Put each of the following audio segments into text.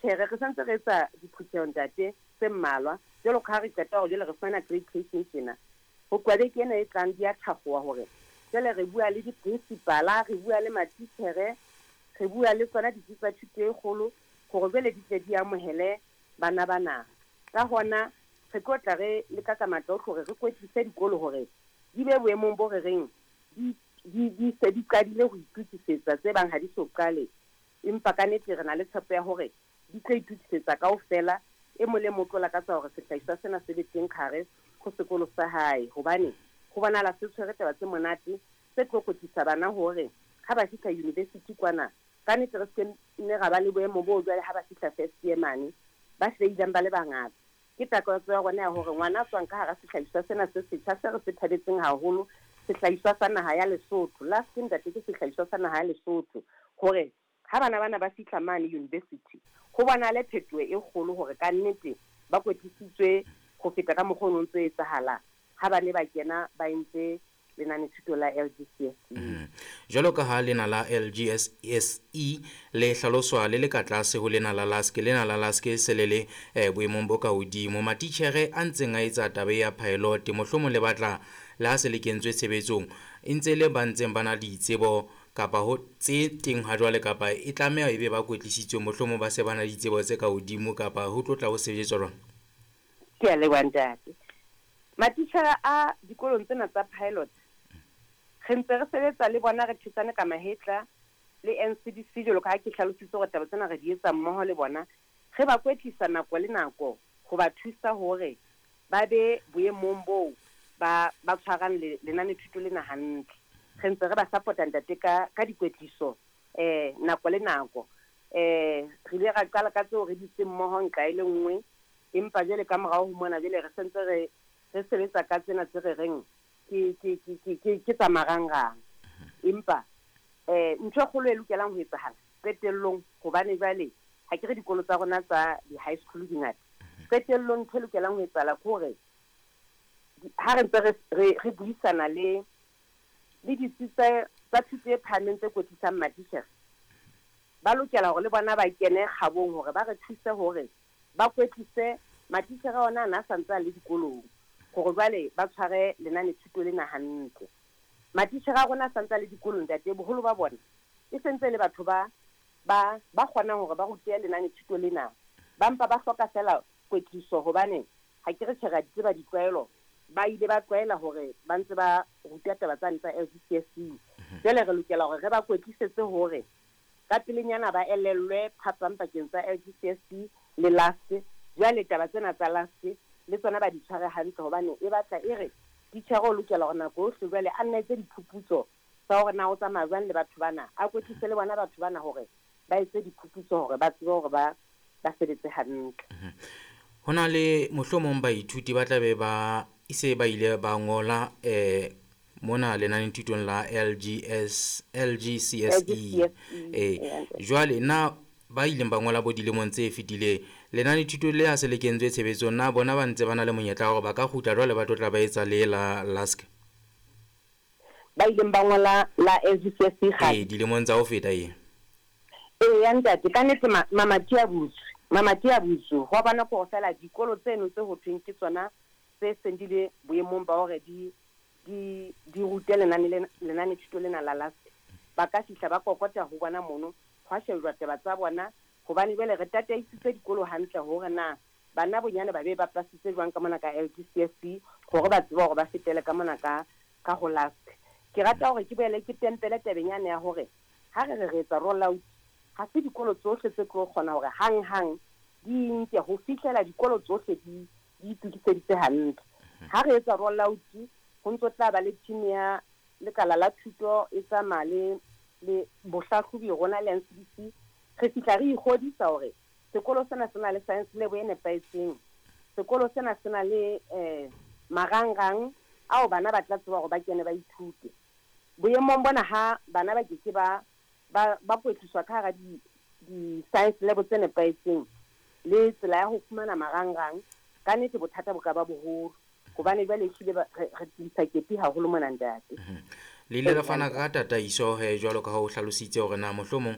Matitjhere re santse re etsa diphutheho ntate tse mmalwa jwalo ka ha re qeta hore jwale re fumana accreditation tjena. Ho tloha beke ena e tlang di a thakgoha hore jwale re bua le di-principal-a, re bua le matitjhere, re bua le tsona ditsi tsa thuto e kgolo hore jwale di tle di amohele bana bana. Ka hona re tlo tla re leka ka matla ohle hore re kwetlise dikolo hore di be boemong bo re reng di di di se di qadile ho itokisetsa tse bang ha di so qale. Empa ka nete re na le tshepo ya hore di tlo itokisetsa kaofela. E mong le mong o tlo lakatsa hore sehlahiswa sena se be teng kahare ho sekolo sa hae hobane ho bonahala se tshwere taba tse monate tse tlo kwetlisa bana hore ha ba fihla university kwana ka nete re se ke nne ra ba le boemo boo jwale ha ba fihla first year mane ba feilang ba le bangata. Ke takatso ya rona ya hore ngwana a tswang ka hara sehlahiswa sena se setjha se re se thabetseng haholo, sehlahiswa sa naha ya Lesotho, LASK ntate ke sehlahiswa sa naha ya Lesotho, hore ha bana bana ba fihla mane university ho bonahale phetoho e kgolo hore ka nnete ba kwetlisitswe ho feta ka mokgwa o no ntso etsahala ha ba ne ba kena ba entse lenanethuto la LGCSE. Jwalo ka ha lena la LGSE le hlaloswa le le ka tlase ho lena la LASK, lena la LASK se le le boemong bo ka hodimo. Matitjhere a ntseng a etsa taba ya pilot, mohlomong le batla le ha se le kentswe tshebetsong, e ntse le ba ntseng ba na le ditsebo kapa ho tse teng ha jwale, kapa e tlameha e be ba kwetlisitswe, mohlomong ba se ba na le ditsebo tse ka hodimo, kapa ho tlo tla ho sebetswa jwang? Ke a leboha ntate. Matitjhere a dikolong tsena tsa pilot re ntse re sebetsa le bona, re thetsane ka mahetla le NCDC jwalo ka ha ke hlalositse hore taba tsena re di etsa mmoho le bona. Re ba kwetlisa nako le nako ho ba thusa hore ba be boemong boo ba ba tshwarang lenanethuto lena hantle. Re ntse re ba support-a ntate ka ka dikwetliso nako le nako. Re ile ra qala ka tseo re dutseng mmoho nqa e le nngwe, empa jwale ka morao ho mona jwale re sentse re re sebetsa ka tsena tse re reng ke ke ke ke ke ke tsa marangrang. Empa ntho e kgolo e lokelang ho etsahala qetellong, hobane jwale ha ke re dikolo tsa rona tsa di-high school di ngata, qetellong ntho e lokelang ho etsahala ke hore ha re ntse re re re buisana le le ditsi tsa tsa thuto e phahameng tse kwetlisang matitjhere, ba lokela hore le bona ba kene kgabong hore ba re thuse hore ba kwetlise matitjhere ona ana a sa ntse a le dikolong hore jwale ba tshware lenanethuto lena hantle. Matitjhere a rona a sa ntse a le dikolong ntate, boholo ba bona e sentse le batho ba ba ba kgonang hore ba rute lenanethuto lena, ba mpa ba hloka feela kwetliso hobane ha ke re tjhe re a di tseba ditlwaelo, ba ile ba tlwaela hore ba ntse ba ruta taba tsane tsa LGCSE. Jwale re lokela hore re ba kwetlisetse hore ka pelenyana ba elellwe phapang pakeng tsa LGCSE le LASK. Jwale taba tsena tsa LASK le tsona ba di tshware hantle hobane e batla e re titjhere o lokela hore nako yohle jwale a nna etse diphuputso tsa hore na o tsamaya jwang le batho bana, a kwetlise le bona batho bana hore ba etse diphuputso hore ba tsebe hore ba ba sebetse hantle. Ho na le mohlomong baithuti ba tla be ba ise ba ile ba ngola mona lenanethutong la LGS LGCSE. Jwale na ba ileng ba ngola bo dilemong tse fetileng lenanethuto le ha se le kentswe tshebetsong, na bona ba ntse ba na le monyetla wa hore ba ka kgutla jwale ba tlo tla ba etsa le la LASK? Ba ileng ba ngola la LGCSE kgale? Dilemong tsa ho feta e. Eya ntate, ka nnete mamati a butswe, mamati a butswe. Ho bona ke hore feela dikolo tseno tse ho thweng ke tsona tse seng di le boemong ba hore di di di rute lenane lena lenanethuto lena la LASK, ba ka fihla ba kokota ho bona mono, hwa shejwa taba tsa bona hobane jwale re tataisitse dikolo hantle hore na bana bonyane ba be ba pasitse jwang ka mona ka LGCSE hore ba tsebe hore ba fetele ka mona ka ka ho LASK. Ke rata hore ke boele ke tempele tabeng yane ya hore ha re re re etsa roll out, ha se dikolo tsohle tse tlo kgona hore hang-hang di nke ho fihlela dikolo tsohle di di itokiseditse hantle. Ha re etsa roll out, ho ntso tla ba le team ya lekala la thuto e tsamaya le le bohlahlobi rona le NCDC. Re fihla re ikgodisa hore sekolo sena se na le science lab e nepahetseng, sekolo sena se na le marangrang ao bana ba tla tseba hore ba kene ba ithute. Boemong bona ha bana ba ke ke ba ba ba kwetliswa ka hara di di-science lab tse nepahetseng le tsela ya ho fumana marangrang, ka nnete bothata bo ka ba boholo hobane jwale ehlile re tlisa kepi haholo mona ntate. Le ile la fana ka tataiso he jwalo ka ha o hlalositse hore na mohlomong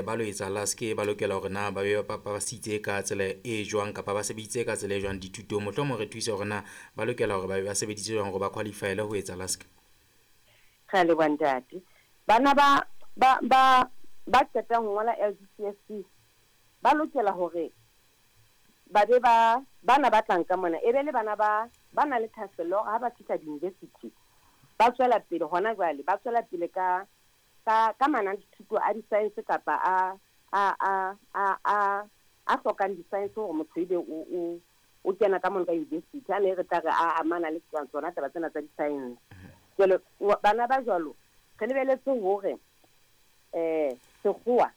ba lo etsa LASC ba lokela hore na ba be ba pasitse ka tsela e jwang kapa ba sebeditse ka tsela e jwang dithutong. Mohlomong re thuse hore na ba lokela hore ba be ba sebeditse jwang hore ba qualify-ele ho etsa LASC. Re a leboha ntate. Bana ba qetang ho ngola LGCSE ba lokela hore ba be ba bana ba tlang ka mona e be le bana ba na le thahasello hore ha ba fihla di-university ba tswela pele hona jwale, ba tswela pele ka mananethuto a di-science kapa a hlokang di-science hore motho ebe o kena ka mona ka university a ne re tla re a amana le tsona taba tsena tsa di-science. Jwale bana ba jwalo re lebeletse hore sekgowa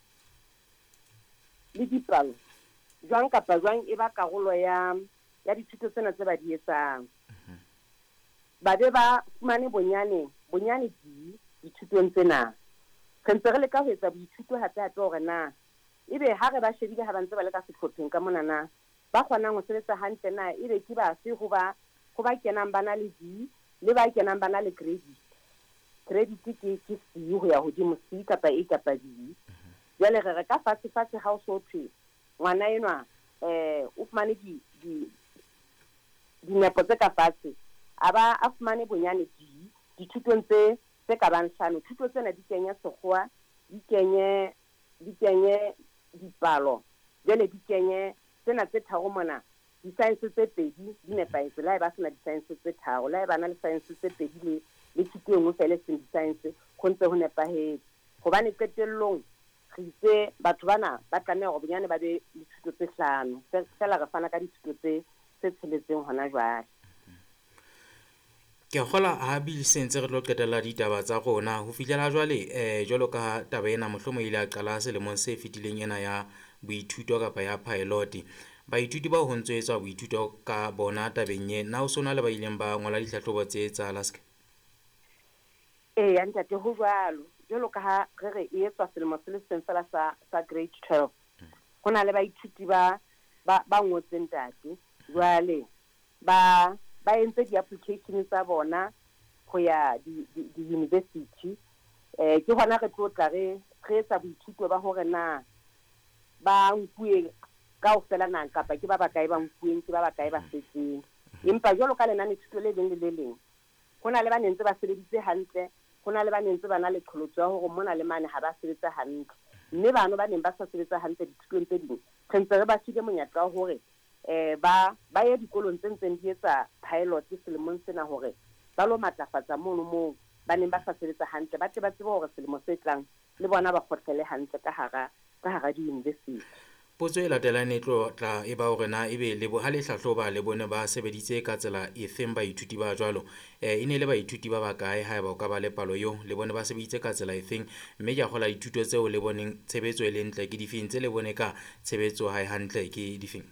le dipalo jwang kapa jwang e ba karolo ya dithuto tsena tse ba di etsang. Ba be ba fumane bonyane D dithutong tsena. Re ntse re leka ho etsa boithuto hape hape hore na ebe ha re ba shebile ha ba ntse ba le ka sehlopheng ka mona na ba kgonang ho sebetsa hantle na ebe ke bafe ho ba kenang ba na le D le ba kenang ba na le credit. Credit ke C ho ya hodimo, C kapa A kapa B. Jwale re re ka fatshe ha o so thwe ngwana enwa o fumane dinepo tse ka fatshe, a ba a fumane bonyane D dithutong tse ka bang hlano. Thuto tsena di kenye sekgowa, di kenye dipalo, jwale di kenye tsena tse tharo mona, di-science tse pedi di nepahetse. Le ha e ba sena di-science tse tharo, le ha e ba na le science tse pedi le thuto e nngwe feela e seng di-science, ho ntse ho nepahetse. Hobane qetellong re itse batho bana ba tlameha hore bonyane ba be le thuto tse hlano, feela re fana ka dithuto tse tsheletseng hona jwale. Ke kgola ha bile sentse re tlo qetella ditaba tsa rona ho fihlela jwale jwalo ka taba ena mohlomong ile a qala selemong se fetileng ena ya boithuto kapa ya pilot. Baithuti bao ho ntso etswa boithuto ka bona tabeng e na o sona le ba ileng ba ngola ditlhahlobo tse tsa LASC? Eya ntate, ho jwalo. Jwalo ka ha re re e etswa selemo se le seng fela sa grade 12. Ho na le baithuti ba ngotseng ntate. Jwale ba entse di-application tsa bona ho ya di-university. Ke hona re tlo tla re etsa boithuto ba hore na ba nkuwe kaofela na kapa ke ba bakae ba nkuweng, ke ba bakae ba setseng. Empa jwalo ka lenanethuto le leng le le leng, ho na le ba nentse ba sebeditse hantle, ho na le ba nentse ba na le qholotso ya hore mona le mane ha ba sebetsa hantle. Mme bano ba neng ba sa sebetsa hantle dithutong tse ding, re ntse re ba file monyetla wa hore ba ye dikolong tse ntseng di etsa pilot selemong sena hore ba lo matlafatsa mono moo ba neng ba sa sebetsa hantle, ba tle ba tsebe hore selemo se tlang le bona ba kgotlele hantle ka hara di-university. Potso e latelang e tlo tla e ba hore na ebe le ha le hlahloba le bone ba sebeditse ka tsela efeng baithuti ba jwalo. E ne le baithuti ba bakae haeba o ka ba le palo eo, le bone ba sebeditse ka tsela efeng, mme ke a kgola dithuto tseo le boneng tshebetso e le ntle ke difeng, tse le bone ka tshebetso ha e hantle ke difeng?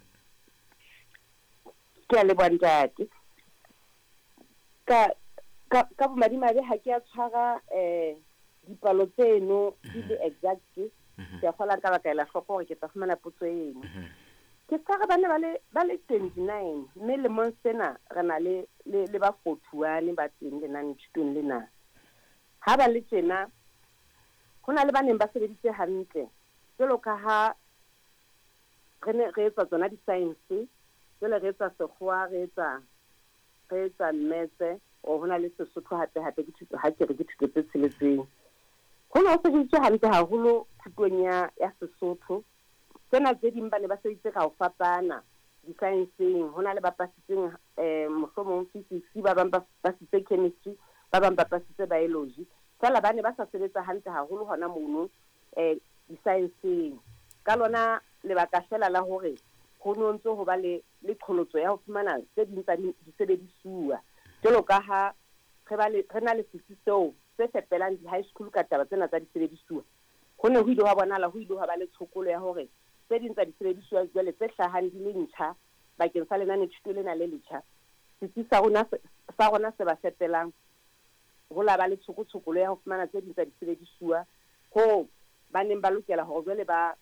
Ke a leboha ntate. Ka bomadimabe ha ke a tshwara dipalo tseno di le exact. Ke a kgola ka baka ela hloko hore ke tla fumana potso eno. Ke tshwara bana ba le 29, mme lemong sena re na le ba 41 ba teng lenanethutong lena. Ha ba le tjena, ho na le ba neng ba sebeditse hantle jwalo ka ha re ne re etsa tsona di-science, jwale re etsa sekgowa, re etsa mmetse, o ho na le Sesotho hape hape ke thuto, ha ke re ke thuto tse tsheletseng. Ho ne ho sebeditswe hantle haholo thutong ya Sesotho. Tsena tse ding ba ne ba sebeditse ka ho fapana di-science-eng. Ho na le ba pasitseng mohlomong physics, ba bang ba pasitse chemistry, ba bang ba pasitse biology. Feela ba ne ba sa sebetsa hantle haholo hona mono di-science-eng. Ka lona lebaka feela la hore ho no ntso ho ba le qholotso ya ho fumana tse ding tsa disebedisuwa. Jwalo ka ha re na le setsi seo se fepelang di-high school ka taba tsena tsa disebedisuwa, ho ne ho ile hwa bonahala ho ile hwa ba le tshokolo ya hore tse ding tsa disebedisuwa jwale tse hlahang di le ntjha bakeng sa lenanethuto lena le letjha, setsi sa rona se ba fepelang ho la ba le tshokotshokolo ya ho fumana tse ding tsa disebedisuwa ho ba neng ba lokela hore jwale ba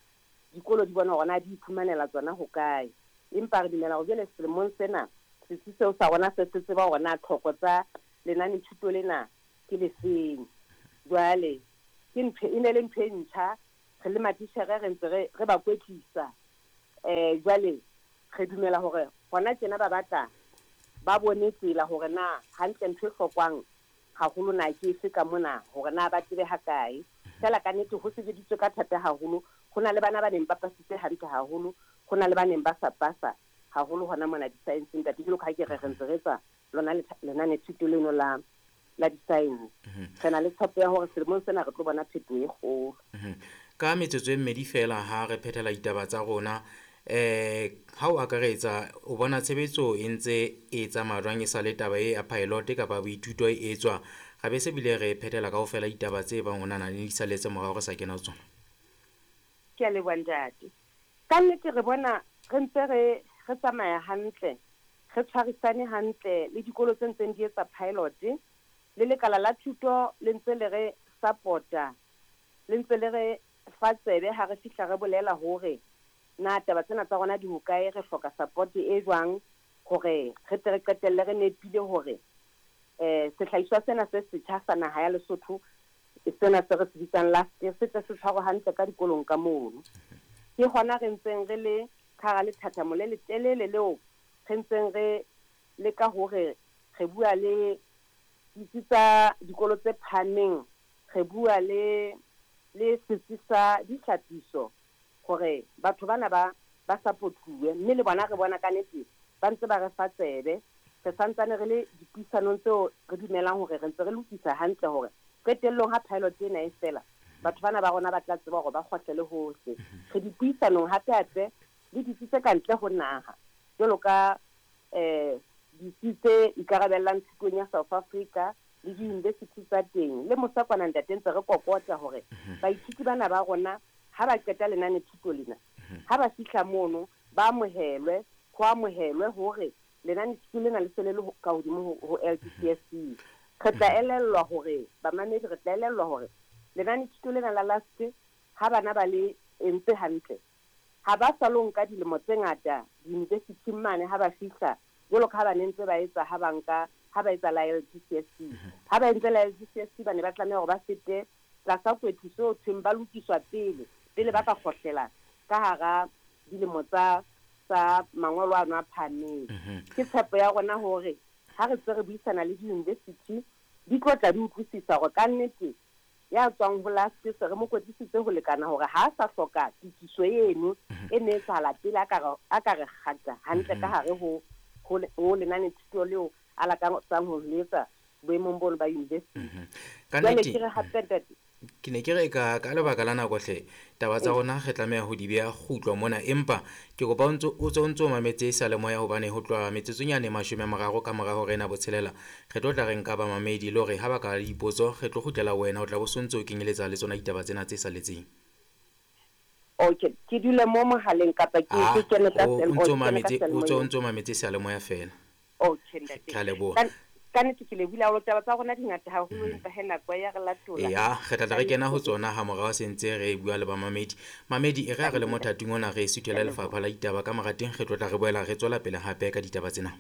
dikolo di bona hore na di iphumanela tsona hokae. Empa re dumela hore jwale selemong sena setsi seo sa rona se tseba hore na tlhoko tsa lenanethuto lena ke lefeng. Jwale ke ntho e ne le ntho e ntjha, re le matitjhere re ntse re ba kwetlisa. Jwale re dumela hore hona tjena ba batla ba bone tsela hore na hantle ntho e hlokwang haholo na ke efe ka mona, hore na ba tsebe ha kae. Fela ka nnete ho sebeditswe ka thata haholo. Ho na le bana ba neng ba pasitse hantle haholo, ho na le ba neng ba sa pasa haholo hona mona di-science ntate. Jwalo ka ha ke re re ntse re etsa lona lenanethuto leno la di-science. Re na le tshepo ya hore selemong sena re tlo bona phetoho e kgolo. Ka metsotso e mmedi fela ha re phethela ditaba tsa rona, ha o akaretsa o bona tshebetso e ntse e tsamaya jwang e sa le taba e ya pilot kapa boithuto e etswa, ra be se bile re phethela kaofela ditaba tse bang ho nana le di saletse morao re sa kena ho tsona. Ke a leboha ntate. Ka nnete re bona re ntse re tsamaya hantle, re tshwarisane hantle le dikolo tse ntseng di etsa pilot, le lekala la thuto le ntse le re support-a, le ntse le re fa tsebe ha re fihla re bolela hore na taba tsena tsa rona di hokae, re hloka support e jwang hore re tle re qetelle re nepile hore sehlahiswa sena se setjha sa naha ya Lesotho, sena se re se bitsang LASC, se tle se tshwarwe hantle ka dikolong ka mono. Ke hona re ntseng re le ka hara lethathamo le letelele leo re ntseng re leka hore re bua le ditsi tsa dikolo tse phahameng, re bua le setsi sa dihlapiso hore batho bana ba supportuwe, mme le bona re bona ka nnete ba ntse ba re fa tsebe. Re santsane re le dipuisanong tseo re dumelang hore re ntse re lokisa hantle hore qetellong ha pilot ena e fela, batho bana ba rona ba tla tseba hore ba kgohlele hohle. Re dipuisanong hape-hape le ditsi tse ka ntle ho naha, jwalo ka ditsi tse ikarabellang thutong ya South Africa le di-university tsa teng. Le mosa kwana ntate ntse re kokota hore baithuti bana ba rona ha ba qeta lenanethuto lena, ha ba fihla mono ba amohelwe, ho amohelwe hore lenanethuto lena le se le le ka hodimo ho LGCSE. Re tla elellwa hore bamamedi, re tla elellwa hore lenanethuto lena la LASC ha bana ba le entse hantle, ha ba sa lo nka dilemo tse ngata di-university-ing mane ha ba fihla, jwalo ka ha ba ne ntse ba etsa ha ba nka ha ba etsa la LGCSE. Ha ba entse la LGCSE ba ne ba tlameha hore ba fete tlasa kwetliso ho thweng ba lokiswa pele ba ka kgohlela ka hara dilemo tsa mangolo ano a phahameng. Ke tshepo ya rona hore ha re tse re buisana le di-university di tlo tla di utlwisisa hore ka nnete ya tswang ho LASC se re mo kwetlisitse ho lekana hore ha a sa hloka tokiso eno e ne etsahala pele a ka re kgata hantle ka hare ho lenanethuto leo a lakatsang ho le etsa boemong bono ba university. Jwale ke re hape ntate, ke ne ke re ka lebaka la nako hle taba tsa rona re tlameha ho di beha kgutlo mona, empa ke kopa o ntso mametse seyalemoya hobane ho tloha metsotsonyane 30 ka mora hora ena botshelela re tlo tla re nka bamamedi le hore ha ba ka le dipotso re tlo kgutlela wena, o tla bo sontse o kenyeletsa le tsona ditaba tsena tse saletseng. Okay, ke dule mo mohaleng kapa ke kene ka o ntso mametse seyalemoya fela. Okay ntate, ke a leboha. Ka nnete ke lebohile haholo, taba tsa rona di ngata haholo, empa he nako ya re latola. Ya, re tla re kena ho tsona ha morao se ntse re bua le bamamedi. Mamedi e re ha re le mothating ona re suthela lefapha la ditaba ka mora teng, re tlo tla re boela re tswela pele hape ka ditaba tsena.